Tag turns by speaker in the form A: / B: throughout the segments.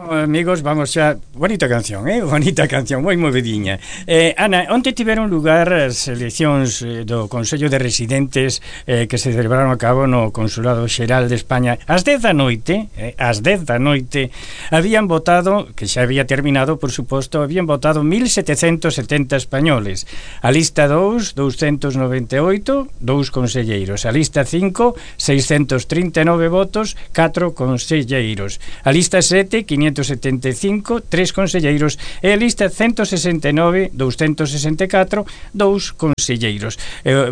A: Amigos, vamos xa. Bonita canción, bonita canción, moi movidiña. Ana, onde tiveron lugar as eleccións do Consello de Residentes que se celebraron a cabo no Consulado Xeral de España ás 10 da noite, habían votado, que xa había terminado, por suposto, habían votado 1770 españoles. A lista 2, 298, 2 conselleiros. A lista 5, 639 votos, 4 conselleiros. A lista 7, 575, 3 conselleiros, e a lista 169, 264, 2 conselleiros.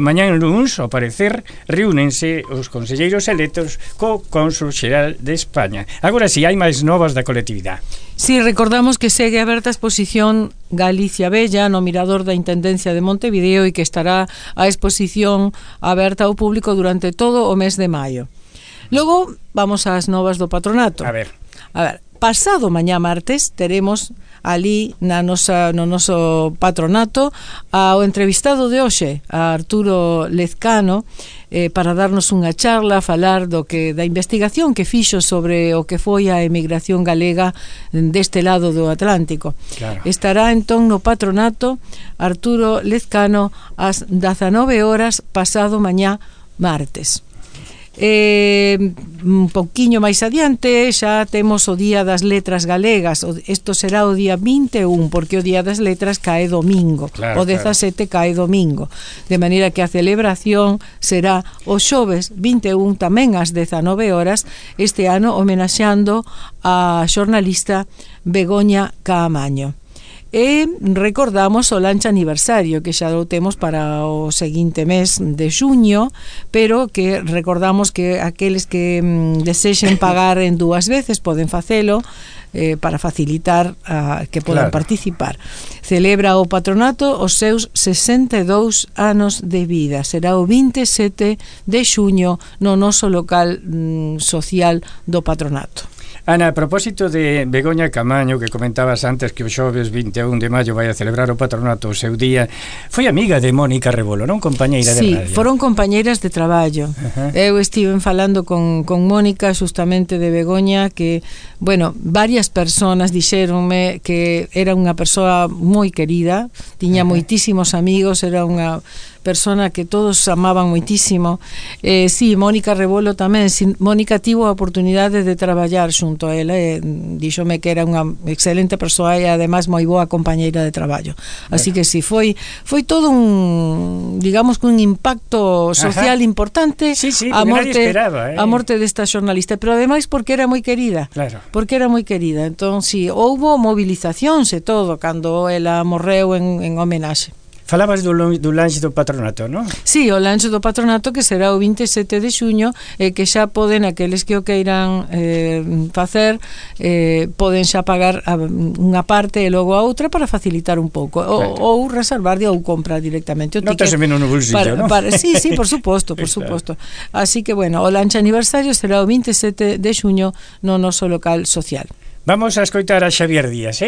A: Mañán luns, ao parecer, reúnense os conselleiros electos co Cónsul Xeral de España. Agora si, hai máis novas da colectividade.
B: Si, recordamos que segue aberta a exposición Galicia Bella no Mirador da Intendencia de Montevideo e que estará a exposición aberta ao público durante todo o mes de maio. Logo, vamos ás novas do patronato.
A: A ver,
B: pasado mañá martes teremos ali no noso patronato ao entrevistado de hoxe, a Arturo Lezcano, para darnos unha charla, falar da investigación que fixo sobre o que foi a emigración galega deste lado do Atlántico.
A: Claro.
B: Estará entón no patronato Arturo Lezcano ás 19 horas pasado mañá martes. Un pouquiño máis adiante xa temos o Día das Letras Galegas. Isto será o día 21, porque o Día das Letras cae domingo, o 17 cae domingo, de maneira que a celebración será o xoves 21 tamén ás 19 horas, este ano homenaxeando a xornalista Begoña Caamaño. E recordamos o lancha aniversario que xa o temos para o seguinte mes de xuño, pero que recordamos que aqueles que desexen pagar en dúas veces poden facelo para facilitar que podan participar. Celebra o patronato os seus 62 anos de vida. Será o 27 de xuño no noso local social do patronato.
A: Ana, a propósito de Begoña Caamaño, que comentabas antes que o xoves 21 de maio vai a celebrar o patronato o seu día, foi amiga de Mónica Rebolo, non? Compañeira de radio.
B: Sí, foron compañeiras de traballo. Eu estive falando con Mónica justamente de Begoña, que, bueno, varias personas dixéronme que era unha persoa moi querida, tiña moitísimos amigos, era unha persona que todos amaban moitísimo. Sí, Mónica Rebolo tamén. Mónica tivo a oportunidade de traballar xunto a ela, díxome que era unha excelente persoa e ademais moi boa compañeira de traballo. Así que sí, foi todo un, digamos, un impacto social importante.
A: Sí,
B: a morte
A: desta
B: xornalista, pero ademais porque era moi querida.
A: Claro.
B: Porque era moi querida. Entón, sí, houbo movilizacións e todo cando ela morreu en homenaxe.
A: Falabas do lanche do patronato, non?
B: Sí, o lanche do patronato que será o 27 de xuño e que xa poden, aqueles que o queiran facer, poden xa pagar unha parte e logo a outra para facilitar un pouco, ou reservar ou comprar directamente o
A: Non
B: ticket.
A: te menos no bolsillo, non?
B: Sí, por suposto, por suposto. Así que, bueno, o lanche aniversario será o 27 de xuño no noso local social.
A: Vamos a escoitar a Xavier Díaz,